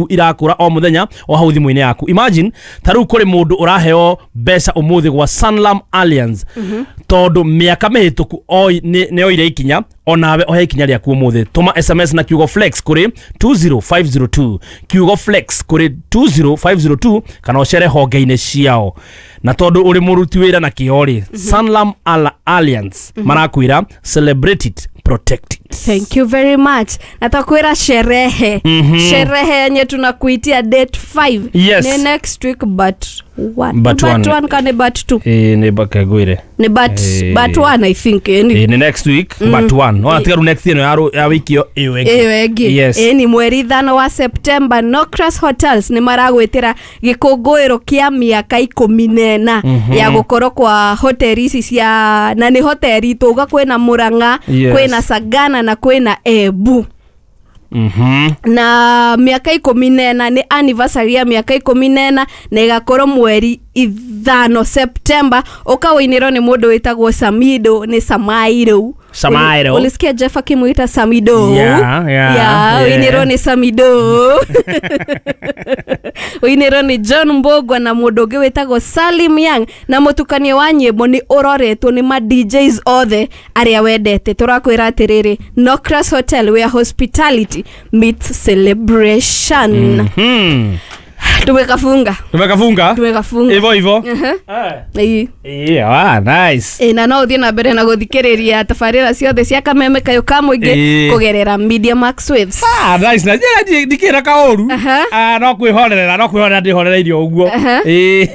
Irakura o muthenya o hau thimu-inĩ yaku. Imagine ta rĩu kũrĩ mũndũ ũraheo mbeca ũmũthĩ gwa Sanlam Allianz tondũ mĩaka mĩhĩtũku nĩ oire ikinya, onawe ohe ikinya rĩaku ũmũthĩ. Tũma SMS na kiugo flex kũrĩ 20502, kiugo flex kũrĩ 20502, kana ũcere honge-inĩ ciao. Na tondũ ũrĩ mũruti wĩra na kĩo rĩ, Sanlam Allianz marakwĩra, "Celebrate it, protect it." Thank you very much. Natakwira sherehe. Sherehe yenye tunakuitia date 5. Ni next week but one. But But one. one kane but two. Ĩ, nĩ bakagwire. Ni but but one, I think. Ni Ĩ, nĩ next week but one. Ona tiga rĩu next ĩno ya wiki ĩyo ĩyo ĩngĩ. Ĩyo ĩngĩ. Yes. Ĩ ni mweri 5 wa September, Nocras Hotels nĩ maragwĩtĩra gĩkũngũĩro kĩa mĩaka 14 ya gũkorwo kwa hoteli ici cia, na nĩ hoteli tũga kwĩna Murang'a, kwĩna Sagana na kwĩna Embu. Na mĩaka 14 nĩ anniversary ya mĩaka 14, na ĩgakorwo mweri 5 September. Ũkawĩinĩrwo nĩ mũndũ wĩtagwo Samido, nĩ Samairo. Samairo. Ulisikia Jeff akimwita Samido? Yeah. Yeah, ũinĩrwo nĩ Samido, ũinĩrwo nĩ John Mbogwa na mũndũ ũngĩ wĩtagwo Salim Young, na mũtukanio wa nyĩmbo nĩ ũroretwo nĩ ma DJs othe arĩa wendete. Tũrakwĩra atĩrĩrĩ, Nocras Hotel, where hospitality meets celebration. Tumekafunga. Tumekafunga. Tumekafunga. Hivyo hivyo. Ĩĩ. Yeah, ah, nice. Ĩ, na no ũthiĩ na mbere na gũthikĩrĩria tabarĩra ciothe cia Kameme Kayũ ka Mũingĩ kũgerera Media Max Waves. Ah, nice. Na njĩra ndikĩra kaũru. Ah, no kwĩhorerera, no kwĩhorera ndĩhorereirio ũguo. Ĩ,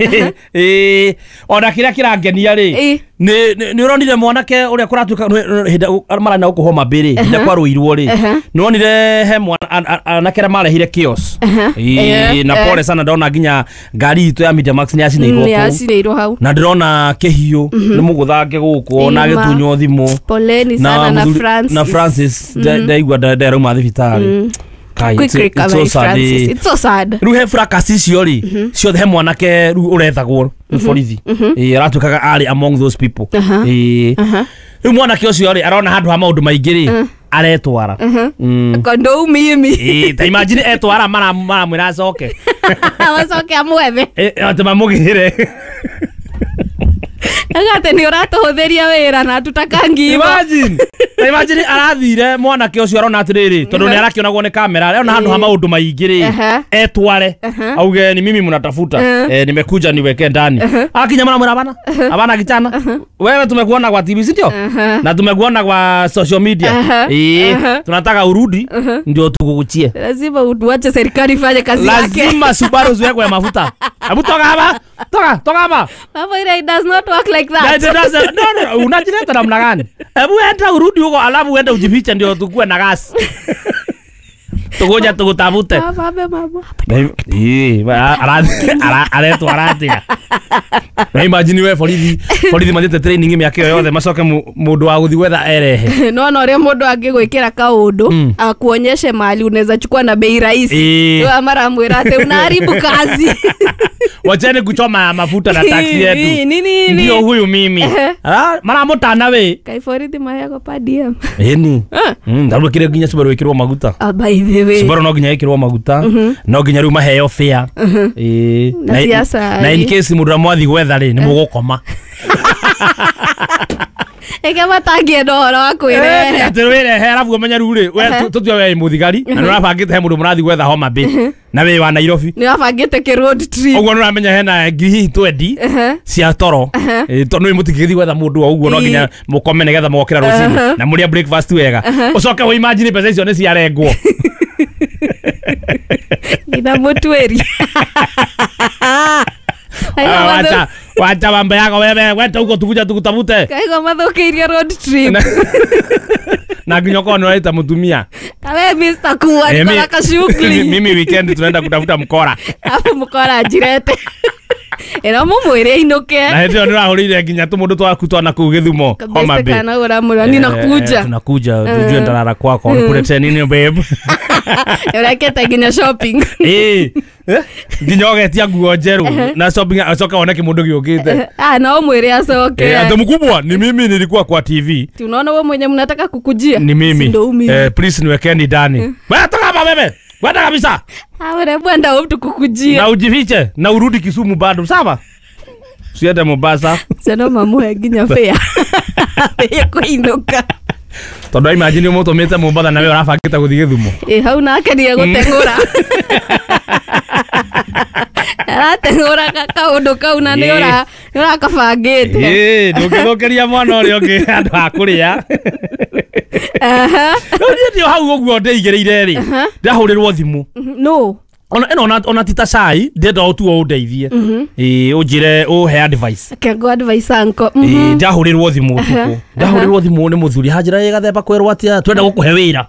ĩ, ona kĩrĩa kĩrangenia rĩ, nĩ ũronire mwanake ũrĩa kũratuĩka hĩndĩ marana gũkũ Homa Bay rĩ, hĩndĩ kwarũirwo rĩ, nĩ wonire he mwana anake arĩa marehire chaos? Ĩ, na pole sana, ndona nginya ngari itũ ya Media Max nĩ yacinĩirwo Nĩ kũu. yacinĩirwo hau. Na ndĩrona kĩhiũ nĩ mũgũthange gũkũ na Ĩma. agĩtunywo thimũ. Poleni sana na mũthuri- Francis. Na Francis ndaigua nderauma thibitarĩ. Kai, Quick it's so recovery, sad, Francis. eh. It's so sad. Rĩu he fracas icio rĩ ciothe, he mwanake rĩu ũrethagwo nĩ borithi. Ĩ, aratuĩkaga arĩ among those people. Ĩ, rĩu mwanake ũcio rĩ arona handũ ha maũndũ maingĩ rĩ, aretwara. Kondo mimi. Ĩ, ta imagine etwara maramwĩra acoke. Wacoke amwethe. Ĩ, atĩ mamũgĩre. Agate nĩ ũratũhũthĩria wĩra na tutakangiva. Imagine, ta imagine arathire mwanake ũcio arona atĩrĩrĩ, tondũ nĩ arakĩonagwo nĩ kamera, arona handũ ha maũndũ maingĩ rĩ, etware auge, "Ni mimi mnatafuta, eh, nimekuja niweke ndani." Akinya maramwĩra, "Bana abana kichana, wewe tumekuona kwa TV, si ndio? Na tumekuona kwa social media. Eh, tunataka urudi ndio tukukuchie." Lazima utuache serikali ifanye kazi yake. Lazima Subaru ziwekwe mafuta. Hebu toka hapa, toka, toka hapa. Mambo ile, it does not work like that. That doesn't- no, no, unajileta namna gani? Hebu enda urudi huko alafu uende ujifiche ndio tukue na gas. Tukuja tukutafute. Mama, mama. Ĩ, aretwo aratia. Na imagine we borithi, borithi mathiĩte training mĩaka ĩyo yothe, macoke mũndũ wa gũthiĩ gwetha erehe. No na ũrĩa mũndũ angĩgwĩkĩra kaũndũ akuonyeshe mahali unaweza chukua na bei rahisi. Rĩu maramwĩra atĩ unaharibu kazi. Wacheni kuchoma mafuta na taxi yetu. Nini, nini? Ndio huyu mimi. Ah, maramũtana we. Kai borithi maheagwo per diem? Ĩni. Ah. Ndarũ kĩrĩa nginya Subaru ĩkĩrwo maguta. Ah, by the way. Subaru no nginya ĩkĩrwo maguta, no nginya rĩu maheo fare. Ĩĩ. Na siasa, na in ĩ. case mũndũ ũrĩa mwathi gwetha rĩ, nĩ mũgũkoma. Eke matangĩenda ũhoro wa kwĩrehe. Atĩ wĩrehe arabu ũmenye rĩu rĩ, we tũtue we wĩ mũthigari na nĩ ũrabangĩte he mũndũ mũrathi gwetha Homa Bay na wĩ wa Nairobi. Nĩ wabangĩte kĩ road trip. Ũguo nĩ ũramenya hena ngiri hihi 20 cia toro. Ĩ, tondũ nĩ mũtingĩgĩthiĩ gwetha mũndũ o ũguo, no nginya mũkome nĩgetha mũgokĩra rũcinĩ na mũrĩa breakfast wega, ũcoke wĩ imagine mbeca icio nĩ ciarengwo. Nginya mũtuĩri. Ah, wacha wacha mambo yako wewe, wenda huko tukuja tukutafute. Kaigua mathũkĩirie road trip. Na nginya ũkorwo nĩ ũraita mũtumia. Kawe Mr. Kuwa Eh, niko na kashughuli. Mimi weekend tunaenda kutafuta mkora. Afu mkora njirete. Ĩno mũmwĩre ainũke. Na hĩndĩ ĩyo nĩ ũrahũrĩire nginya tũmũndũ twaku twana kũu Gĩthumo Homa Kabisa Bay. kana ũramwĩra ninakuja. Eh, tunakuja tujue ndarara kwako nikuletee nini, babe. Ũrekete nginya shopping. Eh, eh, nginya ũgetia nguo njerũ na shopping, acoka wone kĩmũndũ gĩũkĩte. Ah, na ũmwĩre acoke. Eh, ati mkubwa, ni mimi nilikuwa kwa TV. Tunaona wewe mwenye mnataka kukujia. Ni Si mimi. ndo huyu mimi. Eh, please niwekeni ndani. Wewe toka hapa wewe. Kwenda kabisa. Awe bwenda mtu kukujia. Na ujifiche na urudi Kisumu bado, sawa? Usiende Mombasa. Sio mamuhe nginya fare. Ya kuinuka. Tondu imagine umutumite Mombasa na we urabangite guthii Githumo. Hau nake ni egũteng'ũra. Arateng'ũra kaũndũ kau na nĩ ũrakabangĩte. Ndũngĩthũkĩria mwana ũrĩa ũngĩ handũ ha kũrĩa. Rĩu niĩ ndio hau ũguo ndĩigĩrĩire rĩ, ndahũrĩrwo thimũ. No. Ona ĩno ona ti ta cai, ndĩrenda ũtuo ũndeithie. Ũnjĩre ũhe advice. Kengo advice anko. Ndahũrĩrwo thimũ ũtukũ. Ndahũrĩrwo thimũ nĩ mũthuri hanjĩra ĩ gathemba kwerwo atĩa twenda gũkũhe wĩra.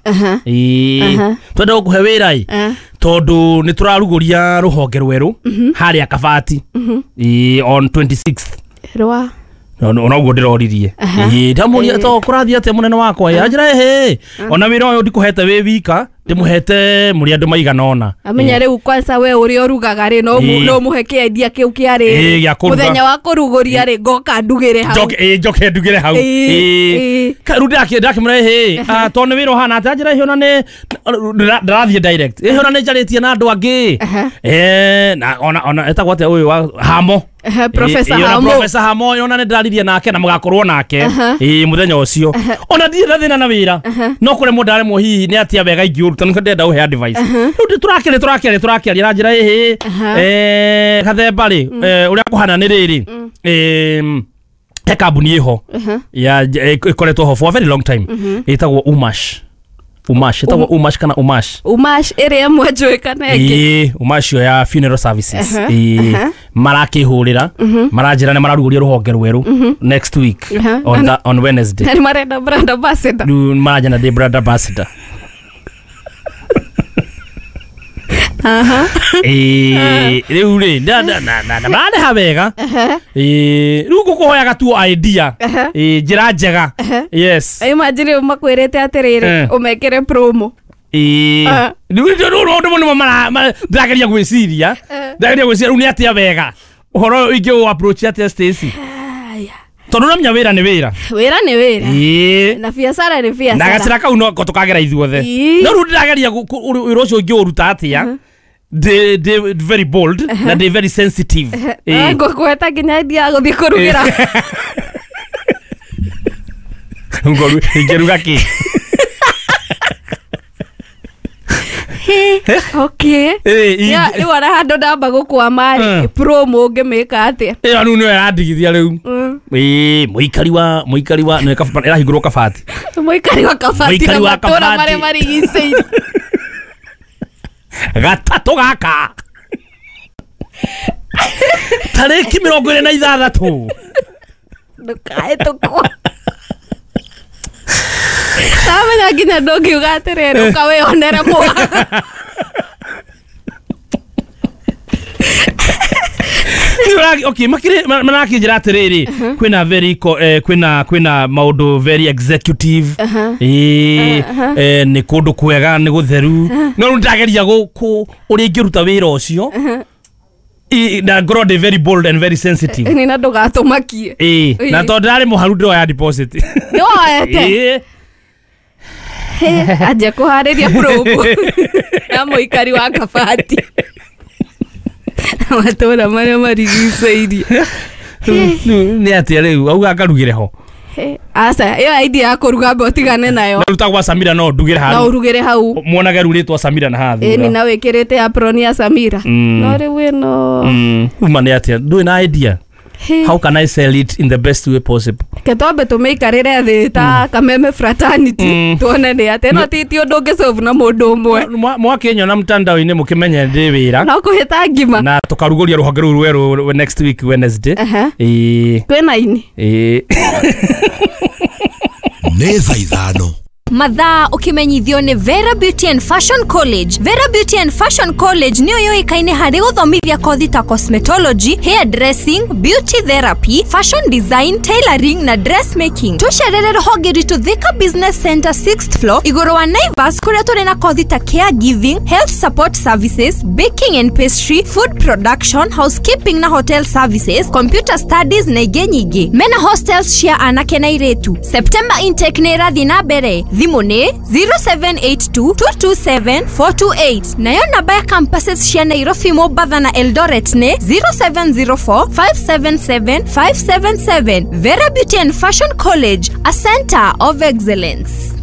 Twenda gũkũhe wĩra ĩ. Tondu nĩ tũrarugũria rũhonge rwerũ harĩa Kabati. On 26th. Rwa. Ona ũguo ndĩroririe. Ndamũria to kũrathiĩ atĩa mũnene wakwa ĩ anjĩra ĩhĩ. Ona wĩra ũyũ ndikũhete wĩ wika ndĩmũhete mũrĩ andũ maigana ũna. Amenya rĩu kwanza we ũrĩa ũrugaga rĩ no mũhe kĩendia kĩu kĩarĩ mũthenya wa kũrugũria rĩ ngoka ndugĩre hau. Njoke ndugĩre hau. Rĩu ndakĩmwĩra ĩhĩ tondũ nĩ wĩra ũhana atĩa anjĩra ĩhĩ ona nĩ ndĩrathiĩ direct. Ĩhĩ ona nĩ njarĩtie na andũ angĩ. Na ona etagwo atĩa ũyũ wa Hamo. Professor Hamo. Professor Hamo ona nĩ ndĩraririe nake na mũgakorwo nake mũthenya ũcio. Ona ndirĩ na thĩna na wĩra. No kũremwo ndaremwo hihi nĩ atĩa wega ingĩũruta nĩkĩo ndĩrenda ũhe advice. Rĩu tũrakĩaria na njĩra ĩhĩ gathemba rĩ ũrĩa kũhana nĩ rĩrĩ he kambuni ĩho ya ĩkoretwo ho for a very long time ĩtagwo Umash. Umash ĩtagwo Umash kana Umash. Umash ĩrĩa ĩmwe njũĩ kana ĩngĩ. Umash yo ya funeral services. Marakĩhũrĩra maranjĩra nĩ mararugũria rũhonge rwerũ next week on Wednesday. Nĩ marenda brand ambassador. Rĩu maranjĩra ndĩ brand ambassador. Rĩu rĩ na mararĩha wega. Rĩu ngũkũhoyaga tu idea. Njĩra njega. Yes. Imagine makwĩrĩte atĩrĩrĩ ũmekĩre promo. Rĩu ũndũ mũno ndĩrageria gwĩciria. Ndĩrageria gwĩciria rĩu nĩ atĩa wega. Ũhoro ũyũ ingĩ approach atĩa Stacy? Tondũ ũramenya wĩra nĩ wĩra. Wĩra nĩ wĩra. Na biacara nĩ biacara. Na gacĩra kau no tũkagera ithuothe. No rĩu ndĩrageria wĩra ũcio ingĩũruta atĩa. They very bold na they very sensitive. Ngũkweta nginya idea gũthiĩ kũrugĩra. Ngũru ingĩruga kĩ? Okay. Rĩu ona handũ ndamba gũkwama rĩ promo ũngĩmĩka atĩa? Ĩyo rĩu nĩyo ĩrandigithia rĩu. Mũikari wa nĩ ĩrahingũrwo Kabati. Mũikari wa Kabati na matũũra marĩa marigicĩirie. Gatatũ gaka. Tarĩki 26. Ndũkahĩtũkwo. Ndamenya nginya ndũngiuga atĩrĩrĩ ũka wĩyonere mwaka. Okay, marakĩnjĩra atĩrĩrĩ kwĩna very kwĩna maũndũ very executive. Nĩ kũndũ kwega nĩ gũtheru. No rĩu ndĩrageria ũrĩa ingĩruta wĩra ũcio. Na ngorwo ndĩ very bold and very sensitive. Nĩ na ndũgatũmakie. Na tondũ ndĩrarĩ mũharu ndĩroya deposit. Nĩwoete? Anjia kũharĩria promo ya mũikari wa Kabati. Matũũra marĩa marigicĩirie. Nĩ atĩa rĩu auga ngarugĩre ho. Aca ĩyo idea ya kũruga mbe ũtigane nayo. Na rutagwa Samira no ndugĩre hau. No ũrugĩre hau. Muonage rurĩtwo Samira na haha thutha. Nĩ na wĩkĩrĩte apron ya Samira. No rĩu ĩno. Uma nĩ atĩa ndũrĩ na idea. How can I sell it in the best way possible? Ke twambe tũmĩikarĩre thĩ ta Kameme fraternity tuone nĩ atĩa no ti ũndũ ũngĩsolve na mũndũ ũmwe. Mwakĩnyona mtandao-inĩ mũkĩmenye ndĩ wĩra. No kũhĩta ngima. Na tũkarugũria rũhonge rũu rwerũ next week Wednesday. Kwĩna ini. Nĩ thaa ithano. Mathaa ukimenyithio nĩ Vera Beauty and Fashion College. Vera Beauty and Fashion College nĩyo yũĩkaine harĩ gũthomithia kothi ta cosmetology, hair dressing, beauty therapy, fashion design, tailoring na dressmaking. Tũcerere rũhonge rwitũ Thika Business Center 6th floor igũrũ wa Naivas kũrĩa tũrĩ na kothi ta caregiving, health support services, baking and pastry, food production, housekeeping na hotel services, computer studies na ingĩ nyingĩ. Mena hostels cia anake na airĩtu. September intake nĩ ĩrathiĩ na mbere. Thimũ nĩ 0782 227 428, nayo namba ya campuses cia Nairobi, Mombatha na Eldoret nĩ 0704 577 577. Vera Beauty and Fashion College, a center of excellence.